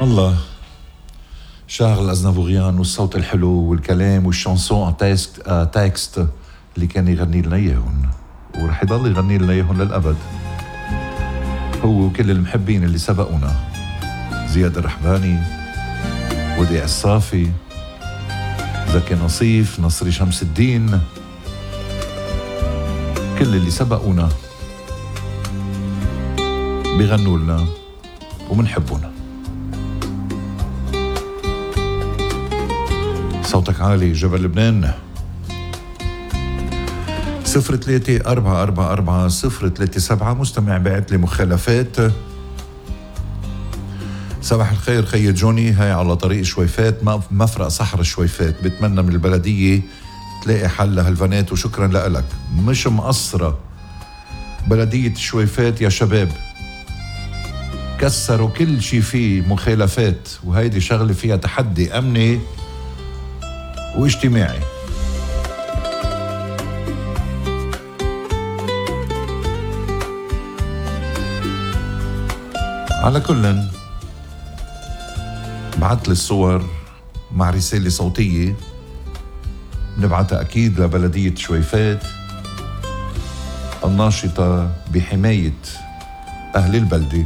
الله، شارل أزنافوريان والصوت الحلو والكلام والشانسون تاكست اللي كان يغني لنا إياهن ورح يضل يغني لنا إياهن للأبد، هو وكل المحبين اللي سبقونا، زياد الرحباني، وديع الصافي، زكي نصيف، نصري شمس الدين، كل اللي سبقونا بيغنوا لنا ومنحبونا. صوتك عالي جبل لبنان. 03-444-037 مستمع بعت لي مخالفات. صباح الخير خي جوني، هاي على طريق شويفات مفرق صحر شويفات، بتمنى من البلدية تلاقي حل لهالبنات وشكرا لك. مش مقصرة بلدية شويفات يا شباب، كسروا كل شي فيه مخالفات، وهيدي شغلة فيها تحدي أمني واجتماعي. على كل بعت لي الصور مع رسالة صوتية نبعتها أكيد لبلدية شويفات الناشطة بحماية أهل البلدة،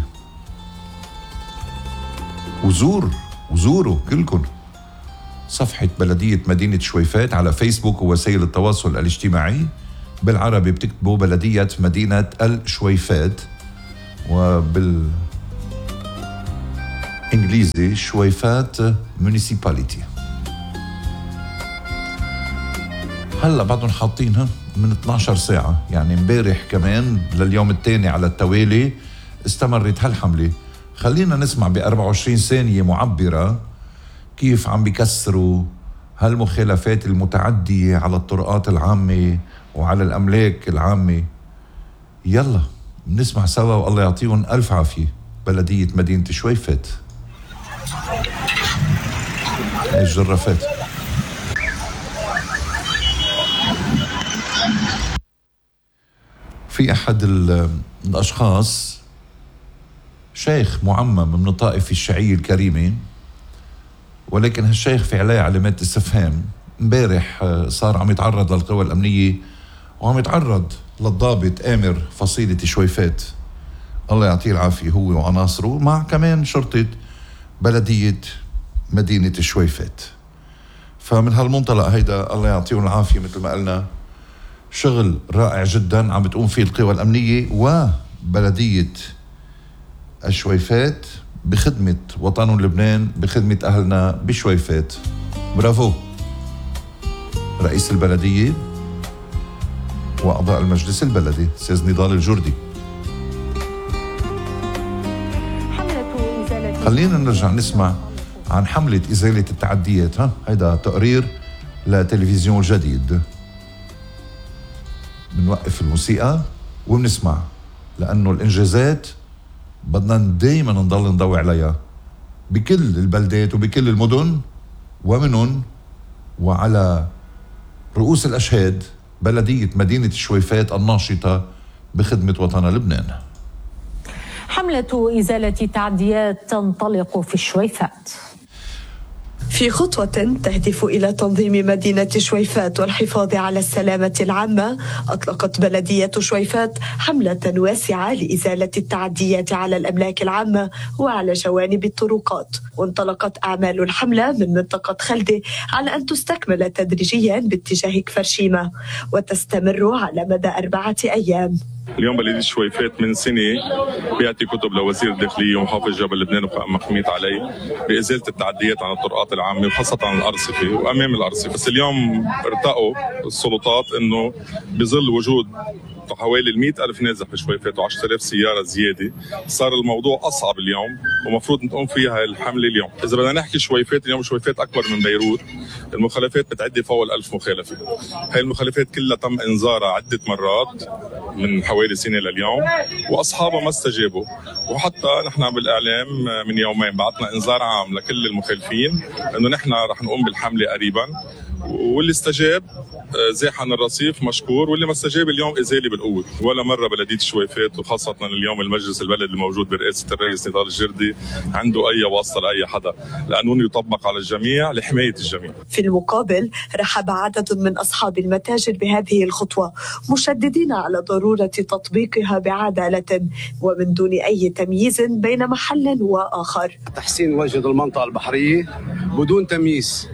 وزوروا كلكم صفحة بلدية مدينة شويفات على فيسبوك ووسائل التواصل الاجتماعي. بالعربي بتكتبوا بلدية مدينة الشويفات، وبالإنجليزي شويفات مونيسيباليتي. هلا بعدهم حاطينها من 12 ساعة، يعني امبارح كمان لليوم الثاني على التوالي استمرت هالحملة. خلينا نسمع ب24 ثانية معبرة كيف عم بيكسروا هالمخالفات المتعدية على الطرقات العامة وعلى الأملاك العامة. يلا نسمع سوا والله يعطيهم ألف عافية. بلدية مدينة شويفات الجرافات. في أحد الأشخاص شيخ معمم من الطائفة الشيعية الكريمة، ولكن هالشيخ في عليه علامات استفهام. امبارح صار عم يتعرض للقوى الأمنية وعم يتعرض للضابط آمر فصيلة شويفات، الله يعطيه العافية، هو وعناصره مع كمان شرطة بلدية مدينة شويفات. فمن هالمنطلق هيدا الله يعطيهم العافية مثل ما قلنا، شغل رائع جدا عم بتقوم فيه القوى الأمنية وبلدية الشويفات بخدمة وطن لبنان، بخدمة أهلنا بشويفات. برافو رئيس البلدية وأعضاء المجلس البلدي أستاذ نضال الجردي. خلينا نرجع نسمع عن حملة إزالة التعديات. هيدا تقرير لتلفزيون الجديد. بنوقف الموسيقى وبنسمع، لأنه الإنجازات بدنا دايما نضل نضوي عليها بكل البلدات وبكل المدن، ومنهم وعلى رؤوس الأشهاد بلدية مدينة الشويفات الناشطة بخدمة وطن لبنان. حملة إزالة التعديات تنطلق في الشويفات. في خطوة تهدف إلى تنظيم مدينة شويفات والحفاظ على السلامة العامة، أطلقت بلدية شويفات حملة واسعة لإزالة التعديات على الأملاك العامة وعلى جوانب الطرقات. وانطلقت أعمال الحملة من منطقة خلدة على أن تستكمل تدريجيا باتجاه كفر شيمة وتستمر على مدى 4 أيام. اليوم بلدية شويفات من سنة بيعطي كتب لوزير الداخلية ومحافظ جبل لبنان وقائم محمية علي بإزالة التعديات عن الطرقات العامة وخاصة عن الأرصفة وأمام الأرصفة. بس اليوم ارتقوا السلطات إنه بظل وجود حوالي 100,000 نازح بشويفات و10,000 سيارة زيادة، صار الموضوع أصعب اليوم ومفروض نقوم فيها الحملة اليوم. إذا بدنا نحكي شويفات، اليوم شويفات أكبر من بيروت، المخالفات بتعدي فوق 1000 مخالفة. هاي المخالفات كلها تم إنذارها عدة مرات من حوالي سنة لليوم وأصحابها ما استجابوا، وحتى نحن بالإعلام من يومين بعتنا إنذار عام لكل المخالفين إنه نحن رح نقوم بالحملة قريبا، واللي استجاب زاحن الرصيف مشكور، واللي ما استجاب اليوم إزالة بالقوة. ولا مرة بلدية شويفات وخاصة اليوم المجلس البلد الموجود برئاسة الرئيس نضال الجردي عنده أي واسطة لأي حدا. القانون يطبق على الجميع لحماية الجميع. في المقابل رحب عدد من أصحاب المتاجر بهذه الخطوة، مشددين على ضرورة تطبيقها بعدالة ومن دون أي تمييز بين محل وآخر. تحسين وجه المنطقة البحرية بدون تمييز،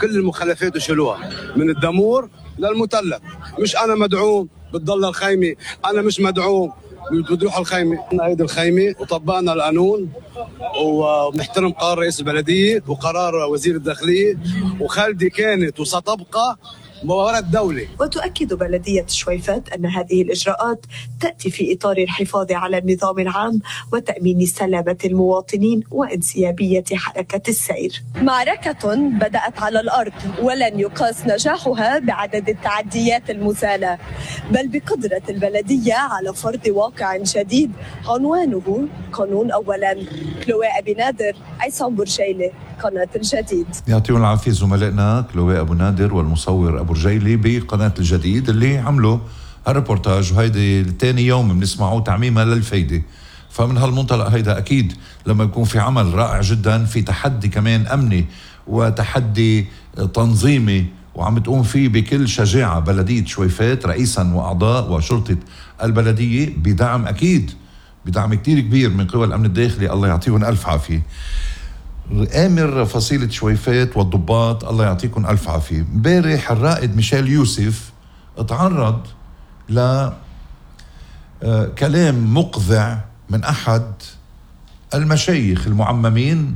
كل المخلفات وشلوها من الدمور للمتلف. مش أنا مدعوم بتضل الخيمة، أنا مش مدعوم بتروح الخيمة. هيدي الخيمة وطبقنا القانون ونحترم قرار رئيس البلدية وقرار وزير الداخلية، وخالدي كانت وستبقى مباراة دولة. وتؤكد بلدية شويفات أن هذه الإجراءات تأتي في إطار الحفاظ على النظام العام وتأمين سلامة المواطنين وانسيابية حركة السير. معركة بدأت على الأرض ولن يقاس نجاحها بعدد التعديات المزالة، بل بقدرة البلدية على فرض واقع جديد عنوانه قانون أولا. كلوي أبي نادر، عصام برجيلي، قناة الجديد. يعطيهم العافية زملائنا كلوي أبو نادر والمصور أبو رجيلي بقناة الجديد اللي عملوا هالريبورتاج، وهيدي ثاني يوم بنسمعه تعميمها للفايدة. فمن هالمنطلق هيدا أكيد لما يكون في عمل رائع جدا، في تحدي كمان أمني وتحدي تنظيمي وعم تقوم فيه بكل شجاعة بلدية شويفات رئيسا وأعضاء وشرطة البلدية بدعم أكيد بدعم كتير كبير من قوى الأمن الداخلي، الله يعطيهم ألف عافية. آمر فصيلة شويفات والضباط الله يعطيكم ألف عافية. امبارح الرائد ميشيل يوسف اتعرض لكلام مقذع من أحد المشايخ المعممين